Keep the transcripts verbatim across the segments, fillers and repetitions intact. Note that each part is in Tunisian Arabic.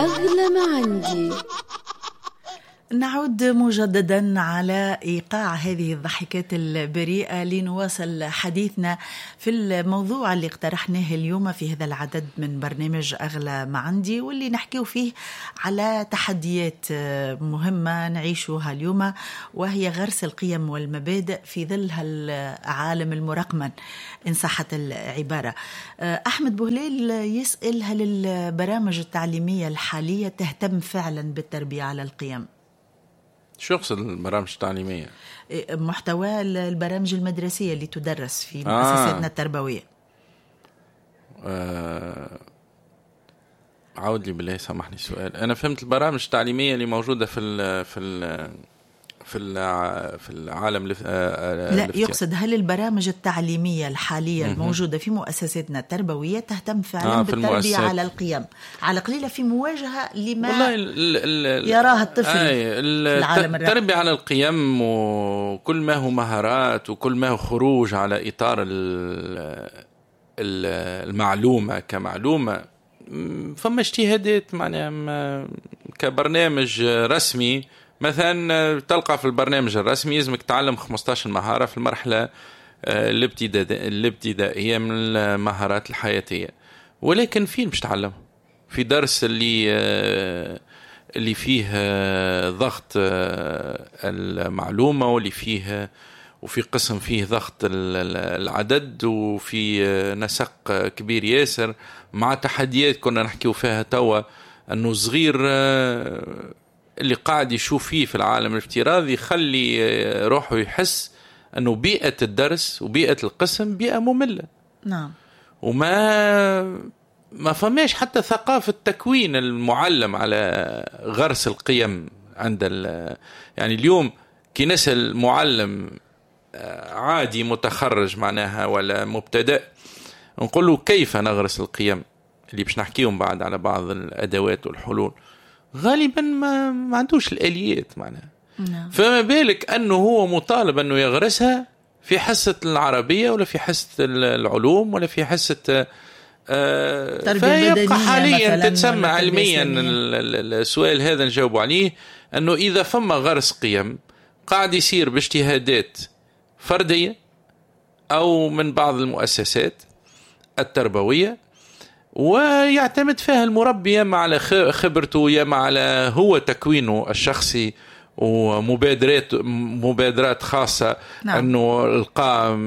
أغلى ما عندي. نعود مجددا على إيقاع هذه الضحكات البريئة لنواصل حديثنا في الموضوع اللي اقترحناه اليوم في هذا العدد من برنامج أغلى ما عندي، واللي نحكيه فيه على تحديات مهمة نعيشها اليوم، وهي غرس القيم والمبادئ في ظل العالم المرقمن إن صحت العبارة. أحمد بوهليل يسأل: هل البرامج التعليمية الحالية تهتم فعلا بالتربية على القيم؟ شو يقصد البرامج التعليمية؟ محتوى البرامج المدرسية اللي تدرس في مؤسساتنا آه. التربوية. آه. عاود لي بالله، سامحني السؤال. أنا فهمت البرامج التعليمية اللي موجودة في ال في ال في في العالم. لا، يقصد هل البرامج التعليمية الحالية الموجودة في مؤسساتنا التربوية تهتم فعلا آه بالتربية على القيم، على قليلة في مواجهة لما والله ال ال يراه الطفل آه في العالم الرقمي؟ التربية على القيم وكل ما هو مهارات وكل ما هو خروج على إطار المعلومة كمعلومة، فما اجتهادات معناها كبرنامج رسمي. مثلا تلقى في البرنامج الرسمي يلزمك تعلم خمسة عشر مهارة في المرحلة الابتدائية من المهارات الحياتية، ولكن فين باش تعلم؟ في درس اللي اللي فيه ضغط المعلومة، واللي فيه وفي قسم فيه ضغط العدد، وفي نسق كبير ياسر مع تحديات كنا نحكيو فيها توا، أنه صغير اللي قاعد يشوف فيه في العالم الافتراضي يخلي روحه يحس أنه بيئة الدرس وبيئة القسم بيئة مملة. نعم. وما ما فماش حتى ثقافة تكوين المعلم على غرس القيم عند ال... يعني اليوم كي نسأل معلم عادي متخرج معناها ولا مبتدئ، نقول له كيف نغرس القيم اللي باش نحكيهم بعد على بعض الأدوات والحلول، غالبا ما, ما عندوش الآليات معناها. نعم. فما بالك أنه هو مطالب أنه يغرسها في حصة العربية ولا في حصة العلوم ولا في حصة آه فيبقى حاليا تتسمى علميا السؤال هذا نجاوب عليه أنه إذا فما غرس قيم قاعد يصير باجتهادات فردية أو من بعض المؤسسات التربوية، ويعتمد فيها المربي يا على خبرته يا على هو تكوينه الشخصي ومبادرات مبادرات خاصة. نعم. أنه القى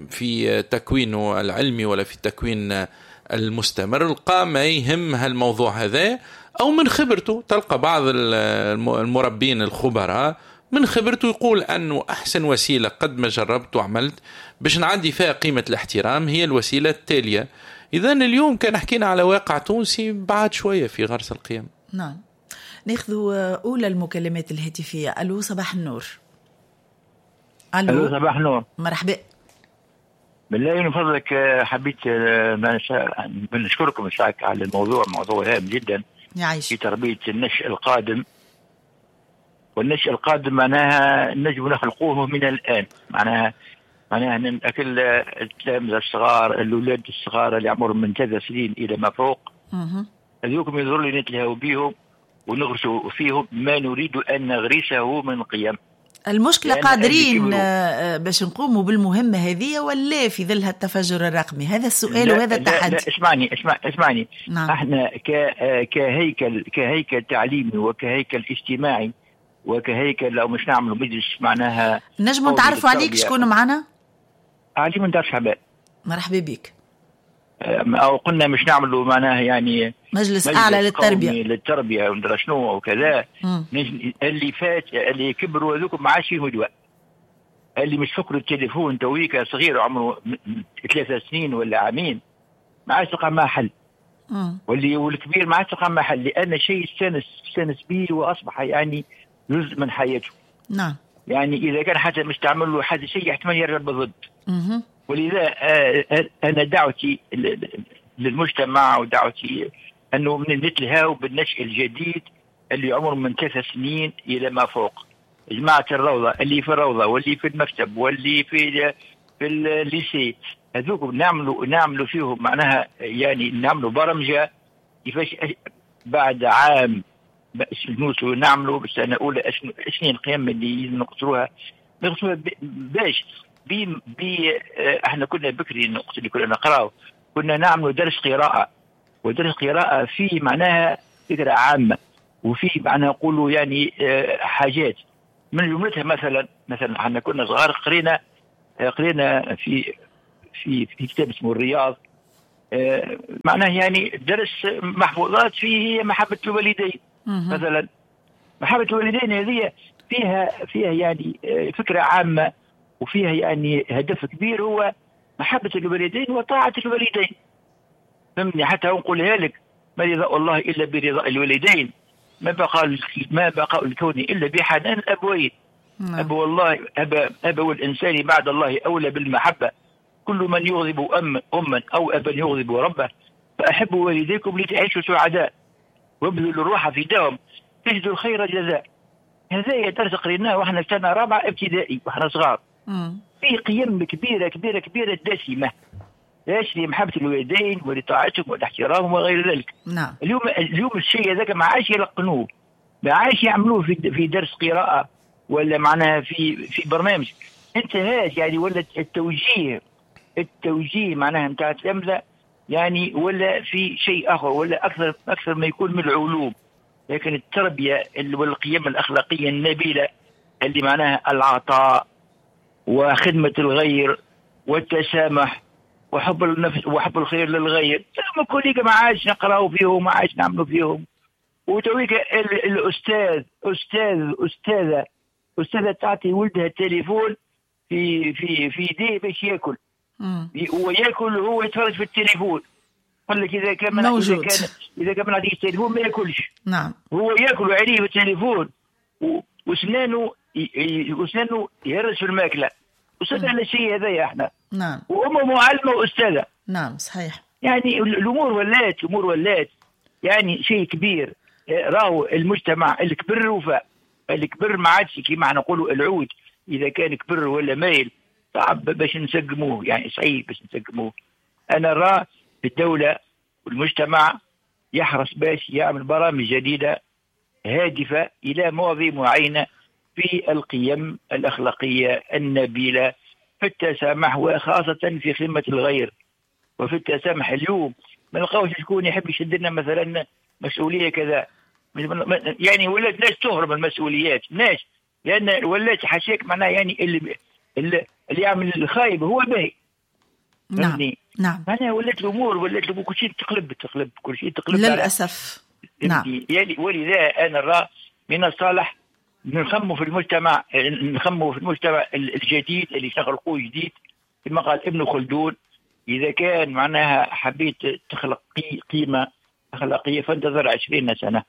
في تكوينه العلمي ولا في التكوين المستمر القى ما يهم هالموضوع هذا، أو من خبرته. تلقى بعض المربين الخبراء من خبرته يقول أنه أحسن وسيلة قد ما جربت وعملت باش نعدي فيها قيمة الاحترام هي الوسيلة التالية. إذن اليوم كان حكينا على واقع تونسي بعد شوية في غرس القيم. نعم. ناخذ أولى المكالمات الهاتفية. ألو صباح النور. ألو, ألو صباح النور. مرحبا. بالله من فضلك حبيت نشكركم على الموضوع، موضوع هام جدا يعيش. في تربية النشء القادم، والنشء القادم معناها نجم نخلقوه من الآن، معناها معناها أكل التلامذة الصغار، الأولاد الصغار اللي عمرهم من ثلاث سنين إلى ما فوق، هذوكم يظل لي نتلهوا بيهم ونغرسوا فيهم ما نريد أن نغرسه من قيم. المشكلة قادرين باش نقوموا بالمهمة هذه ولا في ظل التفجر الرقمي؟ هذا السؤال وهذا التحدي. لا اسمعني اسمع اسمعني. نعم. احنا كهيكل كهيكل تعليمي وكهيكل اجتماعي وكهيكل لو مش نعملوا مجلس معناها نجموا نتعرفوا عليك. شكون معنا؟ علي من دار شعبان. مرحبا بك. او قلنا مش نعملوا معناها يعني مجلس, مجلس اعلى للتربية للتربية وندرى شنو وكذا. اللي فات اللي كبروا هذوك ما عادش فيهم دواء، اللي مش فكروا التليفون تويكا صغير عمره ثلاثة سنين ولا عامين ما عادش تلقى معاه حل، واللي والكبير ما عادش تلقى معاه حل، لان شيء استانس استانس به واصبح يعني جزء من حياته. نعم. يعني اذا كان حتى مش تعمل له حاجة شيء احتمال يرجع بالضد. ولذا أنا دعوتي للمجتمع ودعوتي أنه نتلهاو بالنشء الجديد اللي عمره من ثلاث سنين إلى ما فوق. جماعة الروضة اللي في الروضة واللي في المكتب واللي في في ال lycée، هذوك نعملوا نعملوا فيهم معناها يعني نعملوا برمجة كيفاش بعد عام نوصلوا نعملوا بالسنة الاولى شنو القيم اللي نقصروها نقصروها باش بي بي احنا كنا بكري الوقت اللي كنا نقراو كنا نعملوا درس قراءة، ودرس قراءة فيه معناها فكرة عامة وفيه معناها نقولوا يعني حاجات من جملتها مثلا مثلا احنا كنا صغار قرينا قرينا في في في كتاب اسمه الرياض، معناه يعني درس محفوظات فيه محبة الوالدين مثلا. محبة الوالدين هذه فيها فيها يعني فكرة عامة وفيها يعني هدف كبير هو محبة الوالدين وطاعة الوالدين. فهمني؟ حتى نقولها لك ما رضاء الله إلا برضاء الوالدين، ما بقى ما بقاء الكون إلا بحنان الأبوين. أبو الله أبا أبو الإنسان بعد الله أولى بالمحبة، كل من يغضب أم أما أو أبا يغضب ربه، فأحبوا والديكم لتعيشوا سعداء وابذلوا الروح فداهم تجدوا الخير جزاء. هذا درس قريناه واحنا في سنة رابعة ابتدائي واحنا صغار. في قيم كبيرة كبيرة كبيرة دسمة، ليش؟ لمحبة الوالدين ولطاعتهم والاحترام وغير ذلك. نعم. اليوم اليوم الشيء هذاك ما عادش يلقنوه، ما عادش يعملوه في في درس قراءة ولا معناها في في برنامج. انتهت يعني، ولا التوجيه التوجيه معناها نتاع التلامذة يعني ولا في شيء آخر، ولا أكثر أكثر ما يكون من العلوم. لكن التربية والقيم الأخلاقية النبيلة اللي معناها العطاء وخدمة الغير والتسامح وحب النفس وحب الخير للغير، كل ما عادش نقراو فيهم، ما عادش نعملوا فيهم. وتويك الأستاذ أستاذ أستاذة أستاذة تعطي ولدها التليفون في في في يديه باش ياكل، هو ياكل وهو يتفرج في التليفون. قال لك إذا كان إذا كان إذا كان ما نعطيش التليفون ما ياكلش. نعم. هو ياكل وعليه في التليفون وسنانه وسنانه يهرس في الماكلة. وصلنا على الشيء هذايا احنا. نعم. وأمه معلمة وأستاذة. نعم صحيح. يعني الأمور ولات الأمور ولات يعني شيء كبير. راهو المجتمع الكبر وفاء الكبر ما عادش كيما احنا نقولوا العود إذا كان كبر ولا مايل صعب باش نسقموه، يعني صعيب باش نسقموه. أنا راه الدولة والمجتمع يحرص باش يعمل برامج جديدة هادفة إلى مواضيع معينة في القيم الأخلاقية النبيلة، في التسامح وخاصة في خدمة الغير وفي التسامح. اليوم ما نلقاوش شكون يحب يشد لنا مثلا مسؤولية كذا، يعني ولات ناس تهرب من المسؤوليات، ناس لأن ولات حاشاك معناها يعني اللي اللي يعمل الخايب هو باهي. نعم نعم. معناها ولات الأمور ولات الأمور كل شيء تقلب تقلب كل شيء تقلب للأسف. نعم. يعني ولذا أنا رأى من الصالح نخموا في المجتمع، نخموا في المجتمع الجديد اللي تخلقوه جديد كما قال ابن خلدون. إذا كان معناها حبيت تخلق قيمة أخلاقية فانتظر عشرين سنة.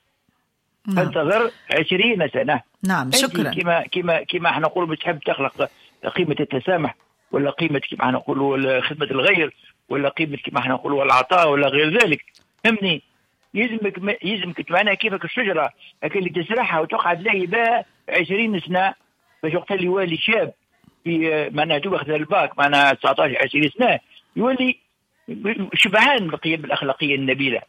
نعم. فانتظر عشرين سنة. نعم شكرا. كما كما كما احنا نقولوا بتحب تخلق قيمة التسامح ولا قيمة كما احنا نقولوا خدمة الغير ولا قيمة كما احنا نقولوا العطاء ولا غير ذلك. فهمني؟ يلزمك يلزمك معناها كيفك الشجرة اللي تزرعها وتقعد لاهي بها عشرين سنة باش وقت اللي يولي شاب في معناها تاخذ الباك معناها تسعطاش عشرين سنة يولي شبعان بالقيم الأخلاقية النبيلة.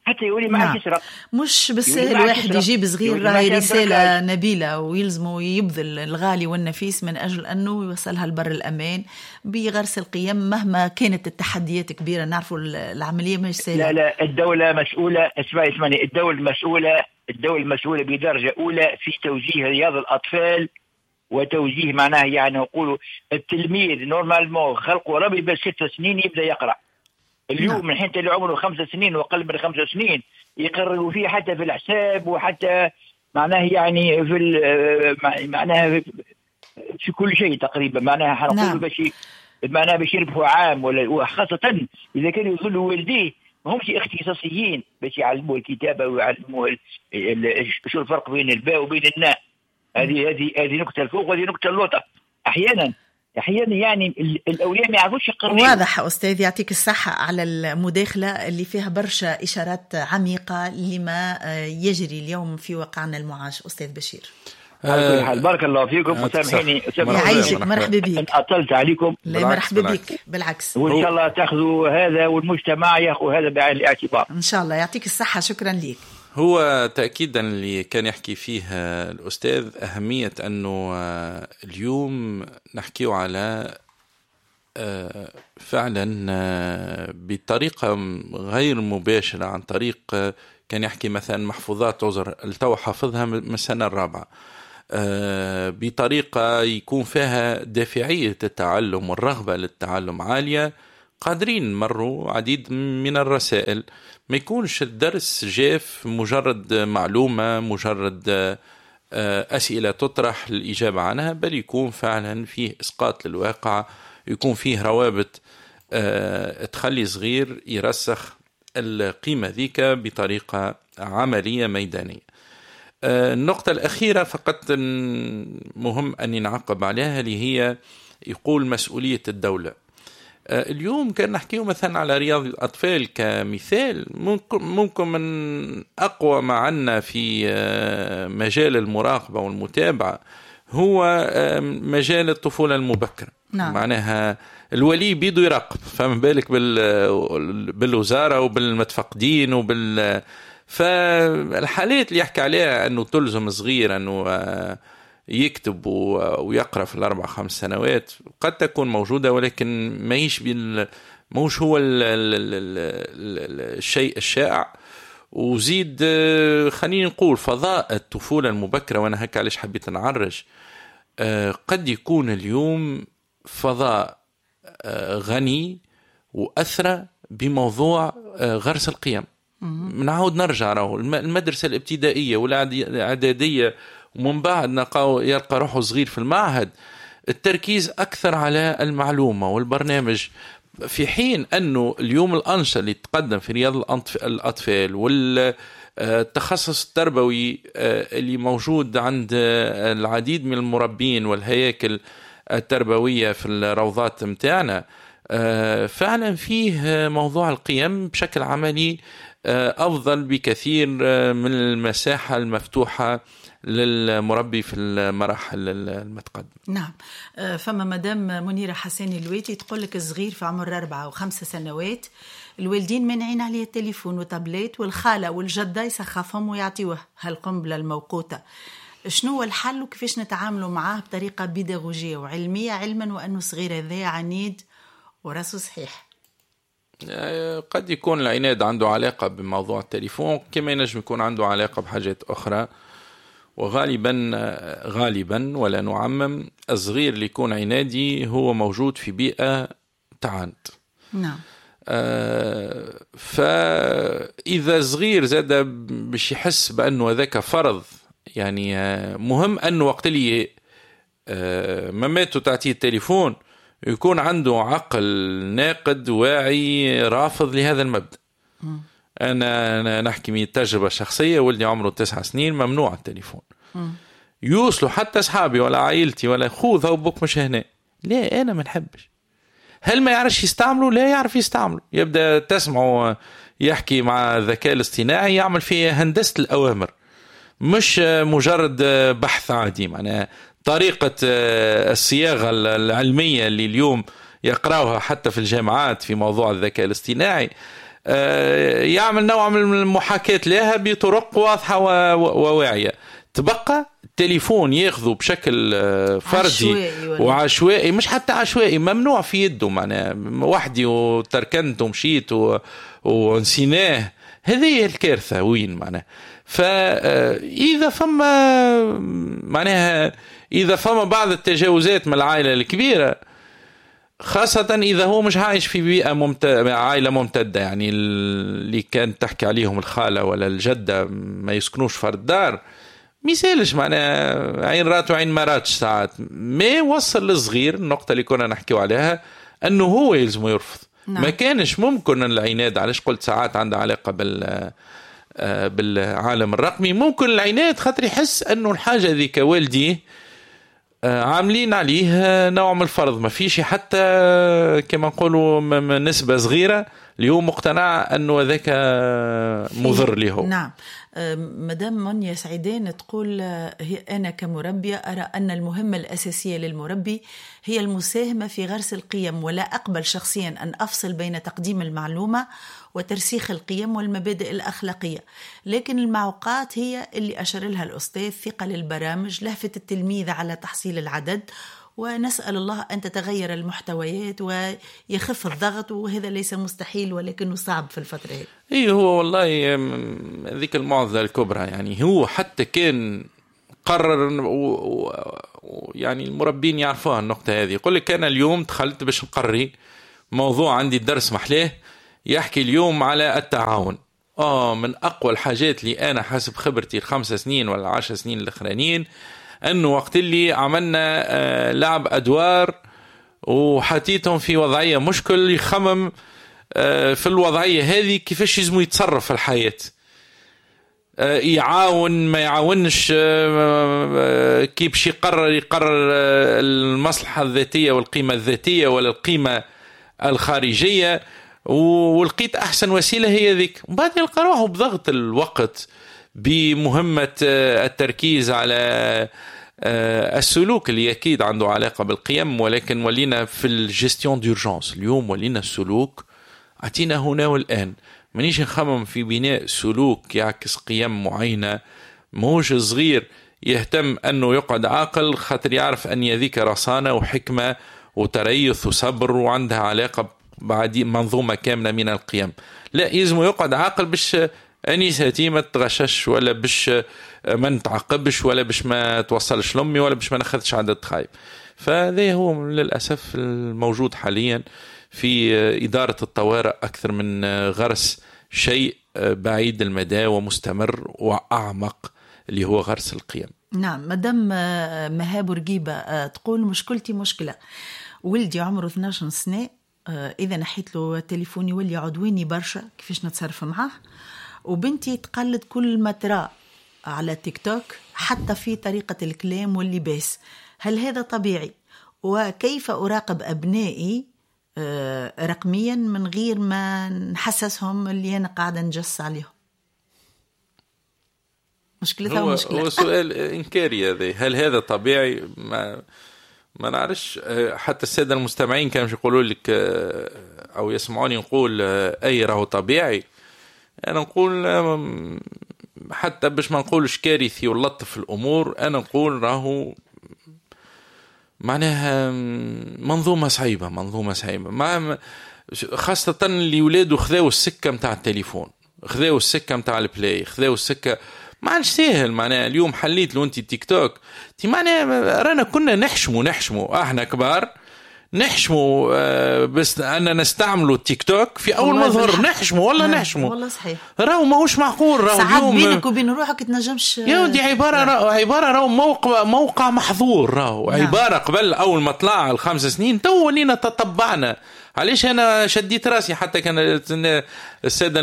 حتى يولي ما عادش يسرق. مش بالسهل واحد يجيب صغير راهي رسالة نبيلة ويلزمه يبذل الغالي والنفيس من أجل أنه يوصلها لبر الأمان بغرس القيم مهما كانت التحديات كبيرة. نعرفوا العملية مش سهلة. لا لا، الدولة مسؤولة. اسمعي اسمعني، الدولة مسؤولة، الدولة مسؤولة بدرجة أولى في توجيه رياض الأطفال وتوجيه معناه يعني نقولوا التلميذ normalement خلقه ربي بس ست سنين يبدأ يقرأ. اليوم نعم. من حين اللي عمره خمس سنين وأقل من خمس سنين يقرروا فيه حتى في الحساب وحتى معناه يعني في معناها في كل شيء تقريبا. معناها حنقول نعم. باش معناها باش يربحوا عام ولا، وخاصة إذا كانوا يظلوا والديه ما همش اختصاصيين باش يعلموه الكتابة ويعلموه شو الفرق بين الباء وبين الناء. هذه هذه هذه نكتة الفوق وهذه نكتة اللوطة. أحيانا أحيانا يعني الأولياء ما يعرفوش يقرروا. واضح أستاذ، يعطيك الصحة على المداخلة اللي فيها برشا إشارات عميقة لما يجري اليوم في واقعنا المعاش. أستاذ بشير، على كل حال بارك الله فيكم وسامحيني، يعيشك، مرحبا بك. أطلت عليكم. لا مرحبا بك، بالعكس، وإن شاء الله تاخذوا هذا والمجتمع ياخذ هذا بعين الاعتبار إن شاء الله. يعطيك الصحة، شكرا لك. هو تأكيدا اللي كان يحكي فيه الأستاذ أهمية أنه اليوم نحكيه على فعلا بطريقة غير مباشرة، عن طريق كان يحكي مثلا محفوظات عذر التو حافظها من السنة الرابعة، بطريقة يكون فيها دافعية التعلم والرغبة للتعلم عالية، قادرين مروا عديد من الرسائل، ما يكونش الدرس جاف مجرد معلومة، مجرد أسئلة تطرح الإجابة عنها، بل يكون فعلا فيه إسقاط للواقع، يكون فيه روابط تخلي صغير يرسخ القيمة ذيك بطريقة عملية ميدانية. النقطة الأخيرة فقط مهم أني نعقب عليها، اللي هي يقول مسؤولية الدولة. اليوم كان نحكيه مثلا على رياض الأطفال كمثال، ممكن, ممكن من أقوى ما عنا في مجال المراقبة والمتابعة هو مجال الطفولة المبكرة. نعم. معناها الولي بيدو يراقب، فما بالك بالوزارة وبالمتفقدين وبال فالحالات اللي يحكي عليها أنه تلزم صغير أنه يكتب ويقرأ في الأربع خمس سنوات قد تكون موجودة، ولكن ما يش بال موش هو ال ال ال الشيء الشائع. وزيد خلينا نقول فضاء الطفولة المبكرة، وأنا هكا علاش حبيت نعرج، قد يكون اليوم فضاء غني وأثرى بموضوع غرس القيم. نعاود نرجع راهو المدرسة الابتدائية والإعدادية، ومن بعد نلقاو يلقى روحه صغير في المعهد، التركيز أكثر على المعلومة والبرنامج، في حين أنه اليوم الأنشطة اللي تقدم في رياض الأطفال والتخصص التربوي اللي موجود عند العديد من المربين والهياكل التربوية في الروضات متاعنا، فعلا فيه موضوع القيم بشكل عملي أفضل بكثير من المساحة المفتوحة للمربي في المراحل المتقدمة. نعم. فما مدام منيرة حساني الويتي تقول لك الصغير في عمر أربعة وخمسة سنوات الوالدين مانعين عليه التليفون وتابليت، والخالة والجدة يسخفهم ويعطيوه هالقنبلة الموقوتة. شنو هو الحل وكيفاش نتعاملوا معاه بطريقة بيداغوجية وعلمية، علما وأنه صغير هذا عنيد وراسه صحيح؟ قد يكون العناد عنده علاقة بموضوع التليفون، كما ينجم يكون عنده علاقة بحاجات أخرى. وغالبا غالبا ولا نعمم، الصغير اللي يكون عنادي هو موجود في بيئة تعاند. نعم. آه فإذا صغير زاد باش يحس بأنه هذاك فرض، يعني مهم أنه وقت اللي آه مامته تعطيه التليفون يكون عنده عقل ناقد واعي رافض لهذا المبدأ. م. أنا نحكي من تجربة شخصية، ولدي عمره تسع سنين ممنوع التليفون. م. يوصلوا حتى أصحابي ولا عائلتي ولا خذها وبوك مش هنا، لا أنا ما نحبش. هل ما يعرفش يستعمله؟ لا يعرف يستعمله، يبدأ تسمعه يحكي مع الذكاء الاصطناعي، يعمل فيه هندسة الأوامر، مش مجرد بحث عادي. معناها طريقة الصياغة العلمية اللي اليوم يقرأوها حتى في الجامعات في موضوع الذكاء الاصطناعي، يعمل نوع من المحاكاة لها بطرق واضحة وواعية. تبقى التليفون ياخذه بشكل فردي وعشوائي، مش حتى عشوائي، ممنوع في يده، معناها وحدي وتركنت ومشيت ونسيناه، هذه الكارثة وين معناها. فإذا فما معناها إذا فما بعض التجاوزات من العائلة الكبيرة، خاصة إذا هو مش عايش في بيئة ممت... عائلة ممتدة، يعني اللي كانت تحكي عليهم الخالة ولا الجدة ما يسكنوش فرد دار، ما يسالش معناها عين رات وعين ما راتش ساعات، ما وصل للصغير النقطة اللي كنا نحكيو عليها أنه هو يلزمه يرفض. نعم. ما كانش ممكن العناد، علاش قلت ساعات عندها علاقة بال بالعالم الرقمي، ممكن العناد خاطر يحس أنه الحاجة ذيك والديه عاملين عليه نوع من الفرض، ما فيش حتى كما نقولوا نسبة صغيرة اللي هو مقتنع أنه ذاك مضر له. نعم. مدام منيا سعيدين تقول هي أنا كمربية أرى أن المهمة الأساسية للمربي هي المساهمة في غرس القيم، ولا أقبل شخصيا أن أفصل بين تقديم المعلومة وترسيخ القيم والمبادئ الأخلاقية، لكن المعوقات هي اللي أشار لها الأستاذ، ثقل البرامج، لهفة التلميذ على تحصيل العدد، ونسأل الله أن تتغير المحتويات ويخف الضغط، وهذا ليس مستحيل ولكنه صعب في الفترة هذه. إيه هو والله ذيك المعضلة الكبرى، يعني هو حتى كان قرر و... و... يعني المربين يعرفوها النقطة هذه، يقول لك أنا اليوم دخلت باش نقري موضوع عندي الدرس محلاه يحكي اليوم على التعاون. آه من أقوى الحاجات اللي أنا حسب خبرتي الخمس سنين ولا عشر سنين الأخرانيين أنه وقت اللي عملنا لعب أدوار وحطيتهم في وضعية مشكل يخمم في الوضعية هذه كيفاش يزمو يتصرف في الحياة، يعاون ما يعاونش، كيف يقرر يقرر المصلحة الذاتية والقيمة الذاتية ولا القيمة الخارجية، ولقيت أحسن وسيلة هي ذيك. وبعد يلقى روحه بضغط الوقت بمهمة التركيز على السلوك اللي أكيد عنده علاقة بالقيم، ولكن ولينا في ال gestion d'urgence اليوم، ولينا السلوك أعطينا هنا والآن، مانيش نخمم في بناء سلوك يعكس قيم معينة. موش صغير يهتم أنه يقعد عاقل خاطر يعرف أن يذيك رصانة وحكمة وتريث وصبر وعندها علاقة بعد منظومة كاملة من القيم. لا، يلزم يقعد عاقل باش أنيستي ما تغشش، ولا باش ما نتعاقبش، ولا باش ما توصلش لأمي، ولا باش ما ناخذش عدد خايب. فهذا هو للأسف الموجود حاليا في إدارة الطوارئ أكثر من غرس شيء بعيد المدى ومستمر وأعمق اللي هو غرس القيم. نعم. مدام مهاب رقيبة تقول مشكلتي مشكلة، ولدي عمره اثنا عشر سنة، إذا نحيت له التليفون يولي عدواني برشا، كيفاش نتصرف معاه؟ وبنتي تقلد كل ما ترى على تيك توك حتى في طريقة الكلام واللباس، هل هذا طبيعي؟ وكيف أراقب أبنائي رقميا من غير ما نحسسهم اللي أنا قاعدة نجس عليهم؟ مشكلتها مشكلة. هو سؤال إنكاري هذا، هل هذا طبيعي؟ ما ما نعرفش. حتى السادة المستمعين كانوا يقولوا لك أو يسمعوني نقول أي راهو طبيعي. أنا نقول حتى باش ما نقولش كارثي ولطف الأمور، أنا نقول راهو معناها منظومة صعيبة، منظومة صعيبة، مع خاصة اللي ولاده خذاو السكة متاع التليفون، خذاو السكة متاع ال Play، خذاو السكة ما عادش ساهل. معناها اليوم حليت لو انت تيك توك، تي معناها رانا كنا نحشمو نحشمو احنا كبار نحشمو بس أننا نستعملوا التيك توك في أول ما ظهر، نحشمو والله نحشمو والله صحيح، راهو ماهوش معقول. راهو ساعات بينك وبين روحك تنجمش يا ودي، عبارة راهو عبارة راهو موقع موقع محظور، راهو نعم. عبارة قبل أول ما طلع الخمس سنين تو ولينا تطبعنا. علاش أنا شديت راسي؟ حتى كان السادة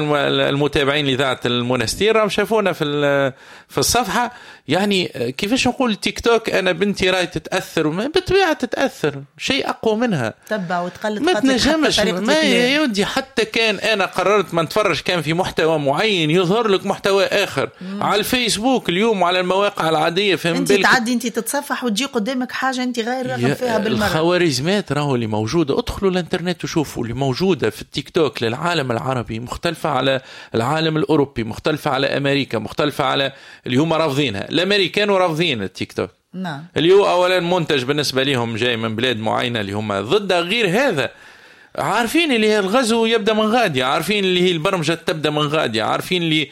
المتابعين لإذاعة المنستير راهم شافونا في في الصفحة، يعني كيفاش نقول تيك توك أنا بنتي راي تتأثر، بالطبيعة تتأثر، شيء أقوى منها، تبع وتقلد، ما تنجمش ما يودي. حتى كان أنا قررت ما نتفرج كان في محتوى معين يظهر لك محتوى آخر مم. على الفيسبوك اليوم وعلى المواقع العادية، فهم أنت تعدي أنت تتصفح وتجي قدامك حاجة أنت غير راغب فيها بالمرة. الخوارزميات راهو اللي موجودة، ادخلوا الانترنت وشوفوا اللي موجودة في التيك توك للعالم العربي مختلفة على العالم الأوروبي، مختلفة على أمريكا، مختلفة على اللي هم رافضينها. الأمريكان رافضين التيك توك، نعم، اللي هو أولا منتج بالنسبة لهم جاي من بلاد معينة اللي هم ضد غير هذا، عارفين اللي هي الغزو يبدأ من غادي، عارفين اللي هي البرمجة تبدأ من غادي، عارفين اللي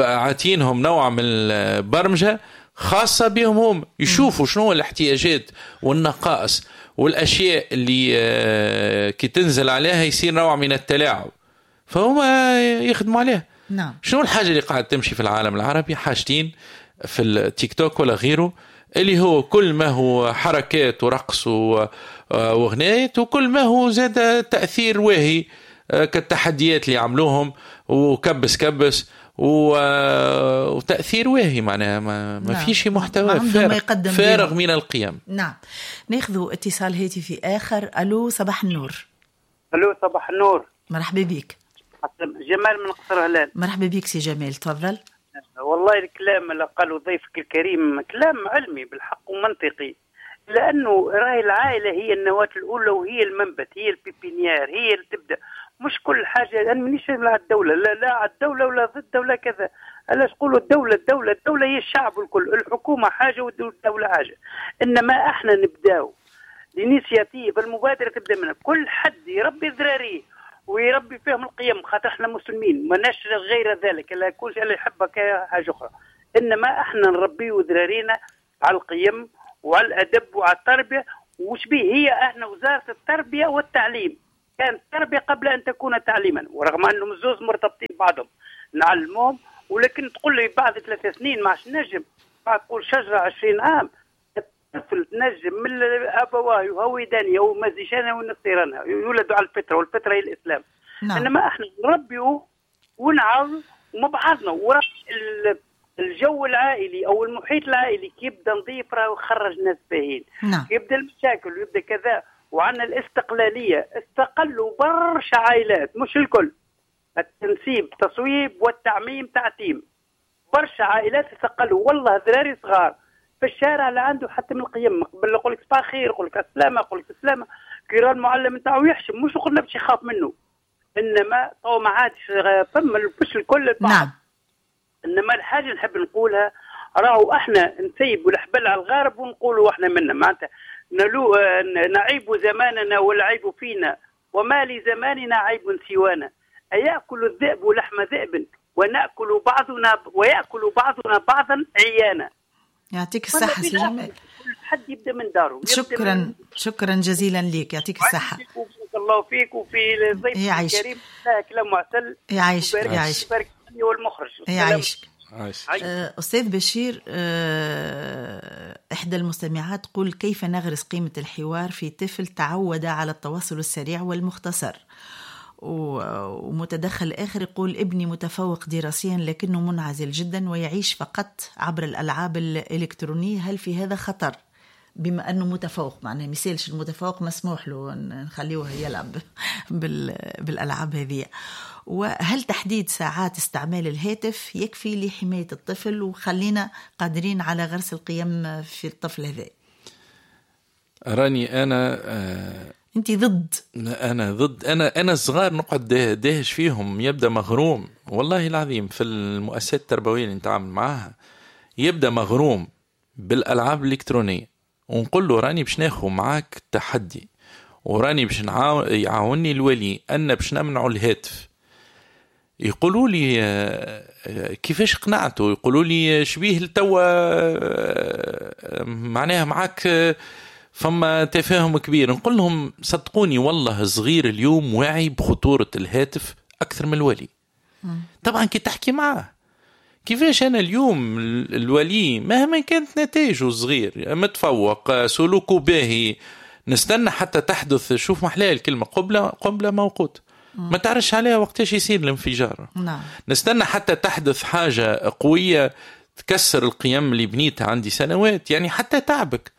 عاتينهم نوع من البرمجة خاصة بهم هم، يشوفوا شنو الاحتياجات والنقائص والأشياء اللي كي تنزل عليها يصير نوع من التلاعب، فهم يخدموا عليها. نعم. شنو الحاجة اللي قاعدة تمشي في العالم العربي؟ حاجتين في التيك توك ولا غيره، اللي هو كل ما هو حركات ورقص وغنايات، وكل ما هو زاد تأثير واهي كالتحديات اللي عملوهم وكبس كبس وتأثير واهي، معناها ما, ما نعم. فيش محتوى فارغ, فارغ من القيم. نعم. ناخذ اتصال هاتفي آخر. ألو صباح النور. ألو صباح النور. مرحبا بك. جمال من قصر هلال. مرحبا بك سي جمال، تفضل. والله الكلام اللي قاله ضيفك الكريم كلام علمي بالحق ومنطقي، لأنه راهي العائلة هي النواة الأولى وهي المنبت، هي ال pépinière، هي اللي تبدأ، مش كل حاجة. أنا مانيش مع الدولة، لا لا على الدولة ولا ضد ولا كذا. علاش تقولوا الدولة الدولة الدولة هي الشعب الكل، الحكومة حاجة والدولة حاجة. إنما احنا نبداو l'initiative، المبادرة تبدا منها، كل حد يربي ذراريه ويربي فيهم القيم، خاطر احنا مسلمين ماناش غير ذلك، لا كل شيء اللي يحبك حاجة أخرى. إنما احنا نربيو ذرارينا على القيم وعلى الأدب وعلى التربية. وش به هي احنا وزارة التربية والتعليم، كانت التربية قبل أن تكون تعليما، ورغم أنهم الزوز مرتبطين بعضهم نعلمهم. ولكن تقول لي بعد ثلاث سنين ما عادش نجم، بعد تقول شجرة عشرين عام الطفل تنجم من أبواه يهوداني أو مزيشانه ونصيرانه، يولدوا على الفطرة، والفطرة هي الإسلام. نعم. إنما احنا نربيه ونعاون وما بعضنا، ورا الجو العائلي أو المحيط العائلي كي يبدا نظيف راه يخرج ناس باهين. نعم. يبدا المشاكل ويبدا كذا، وعندنا الاستقلالية، استقلوا برشا عائلات مش الكل، التنسيب تصويب والتعميم تعتيم، برشا عائلات استقلوا. والله ذراري صغار في الشارع لا عنده حتى من القيم، قبل يقول لك صباح خير، يقول لك السلامة، يقول لك السلامة، كي يرى المعلم نتاعو يحشم، مش قلنا باش يخاف منه، انما تو ما عادش فما مش الكل البعض. نعم. انما الحاجة نحب نقولها، راهو احنا نسيبوا الحبل على الغارب ونقولوا احنا منا، معناتها نلو نعيب زماننا والعيب فينا، وما لزماننا عيب سوانا، أيأكل الذئب لحم ذئب ونأكل بعضنا ويأكل بعضنا بعضا عيانا. يعطيك الصحة سي جمال. كل حد يبدأ من داره. شكرا من... شكرا جزيلا لك، يعطيك الصحة. بارك الله فيك وفي الضيف الكريم، كلام معسل. يعيشك يعيشك والمخرج يعيشك. أستاذ بشير، إحدى المستمعات تقول كيف نغرس قيمة الحوار في طفل تعود على التواصل السريع والمختصر؟ ومتدخل آخر يقول ابني متفوق دراسيا لكنه منعزل جدا ويعيش فقط عبر الألعاب الإلكترونية، هل في هذا خطر؟ بما أنه متفوق، معناه مثالش المتفوق مسموح له نخليه يلعب بالألعاب هذه. وهل تحديد ساعات استعمال الهاتف يكفي لحماية الطفل وخلينا قادرين على غرس القيم في الطفل هذا؟ راني أنا آه أنت ضد؟ أنا ضد. أنا أنا الصغار نقعد داهش فيهم، يبدأ مغروم والله العظيم في المؤسسات التربوية اللي نتعامل معاها، يبدأ مغروم بالألعاب الإلكترونية، ونقول له راني باش ناخو معاك تحدي، وراني باش يعاوني الولي أن باش نمنعوا الهاتف. يقولوا لي كيفاش قنعته؟ يقولوا لي شبيه لتوا معناها معاك فما تفاهم كبير. نقول لهم صدقوني والله صغير اليوم واعي بخطورة الهاتف أكثر من الولي. طبعا كي تحكي معاه كيفاش أنا اليوم الولي مهما كانت نتائجه الصغير متفوق سلوكه باهي، نستنى حتى تحدث، شوف محلاه الكلمة قبلة قبلة موقوت، ما تعرفش عليها وقتاش يصير الانفجار. نعم. نستنى حتى تحدث حاجة قوية تكسر القيم اللي بنيتها عندي سنوات، يعني حتى تعبك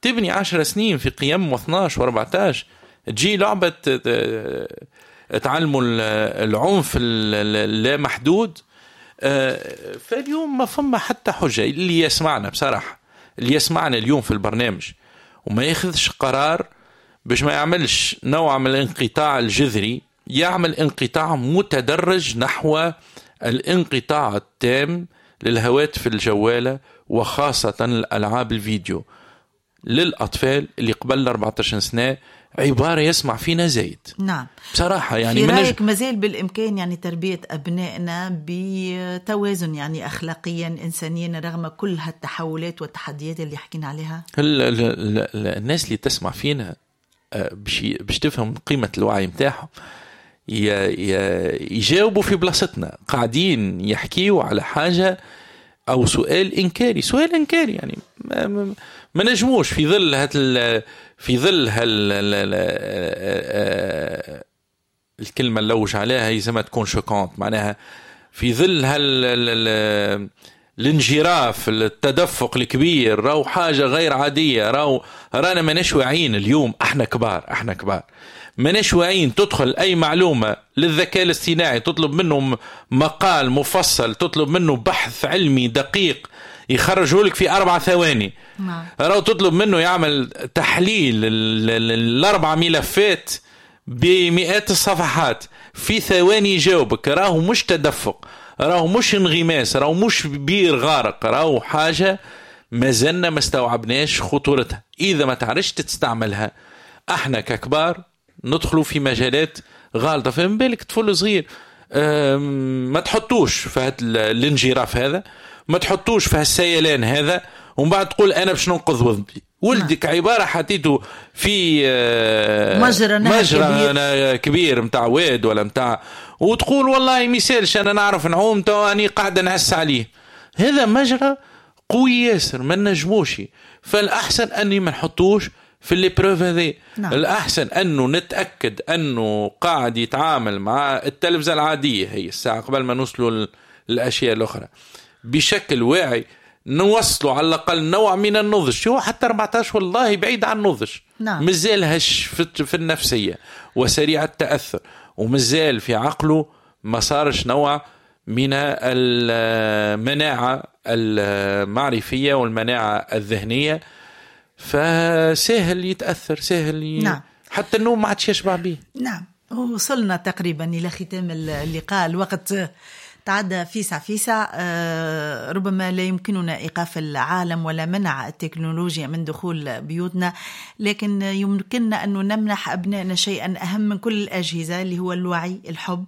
تبني عشر سنين في قيم واثناش واربعتاش، تجي لعبة تعلموا العنف اللامحدود. فاليوم ما فما حتى حجة. اللي يسمعنا بصراحة، اللي يسمعنا اليوم في البرنامج وما ياخذش قرار باش ما يعملش نوع من الانقطاع الجذري، يعمل انقطاع متدرج نحو الانقطاع التام للهواتف الجوالة وخاصة الألعاب الفيديو للأطفال اللي قبل أربعة عشر سنة. عبارة يسمع فينا زايد. نعم بصراحة يعني في رأيك مازال بالإمكان يعني تربية أبنائنا بتوازن يعني أخلاقيا إنسانيا رغم كل هالتحولات والتحديات اللي حكينا عليها؟ ال ال ال الناس اللي تسمع فينا باش تفهم قيمة الوعي متاعهم يجاوبوا في بلاصتنا، قاعدين يحكيوا على حاجة أو سؤال إنكاري، سؤال إنكاري يعني ما, ما نجموش في ظل هال في ظل هال الكلمة اللي لوج عليها هي زي ما تكون choquante، معناها في ظل هال الانجراف التدفق الكبير، راهو حاجة غير عادية، راهو رانا ماناش واعيين اليوم، احنا كبار احنا كبار ماناش واعيين. تدخل اي معلومة للذكاء الاصطناعي، تطلب منه مقال مفصل، تطلب منه بحث علمي دقيق، يخرجه لك في أربع ثواني. نعم. راهو تطلب منه يعمل تحليل الأربع ملفات بمئات الصفحات في ثواني يجاوبك. راهو مش تدفق، راهو مش انغماس، راهو مش بير غارق، راهو حاجة ما زلنا ما استوعبناش خطورتها. إذا ما تعرفش تستعملها، احنا ككبار ندخلوا في مجالات غالطة. فهم بالك طفل صغير ما تحطوش في هذا الانجراف هذا، ما تحطوش في هالسيلان هذا، ومن بعد تقول أنا باش ننقذ ولدي. ولدك عبارة حطيته في مجرى مجرى كبير, كبير متاع واد ولا متاع، وتقول والله ما يسالش أنا نعرف نعوم تو أني قاعدة نعس عليه. هذا مجرى قوي ياسر ما نجموش. فالأحسن أني ما نحطوش في l'épreuve هذه. نعم. الأحسن أنه نتأكد أنه قاعد يتعامل مع التلفزة العادية هي الساعة قبل ما نوصلوا الأشياء الأخرى بشكل واعي، نوصلوا على الأقل نوع من النضج. هو حتى أربعتاش والله بعيد عن النضج. نعم. مازال هش في النفسية وسريع التأثر، ومازال في عقله ما صارش نوع من المناعة المعرفية والمناعة الذهنية، فسهل يتأثر، سهل ي... نعم. حتى النوم ما عادش يشبع به. نعم، وصلنا تقريبا إلى ختام اللقاء، الوقت تعدى فيسع فيسع. ربما لا يمكننا إيقاف العالم ولا منع التكنولوجيا من دخول بيوتنا، لكن يمكننا أن نمنح أبنائنا شيئا أهم من كل الأجهزة اللي هو الوعي، الحب،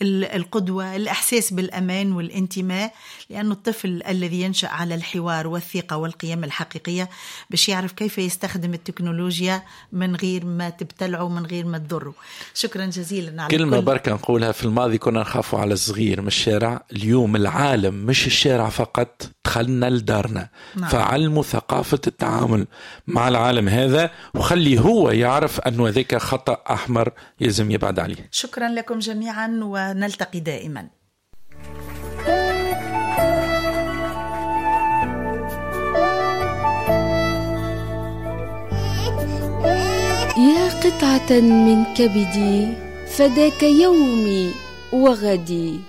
القدوة، الإحساس بالأمان والانتماء. لأن الطفل الذي ينشأ على الحوار والثقة والقيم الحقيقية باش يعرف كيف يستخدم التكنولوجيا من غير ما تبتلعه، من غير ما تضره. شكرا جزيلا على كلمة بركة نقولها. في الماضي كنا نخافوا على الصغير من الشارع، اليوم العالم مش الشارع فقط، دخلنا لدارنا. نعم. فعلموا ثقافة التعامل مع العالم هذا، وخلي هو يعرف أنه ذاك خطأ أحمر يلزم يبعد عليه. شكرا لكم جميعا، ونلتقي دائما. يا قطعة من كبدي فداك يومي وغدي.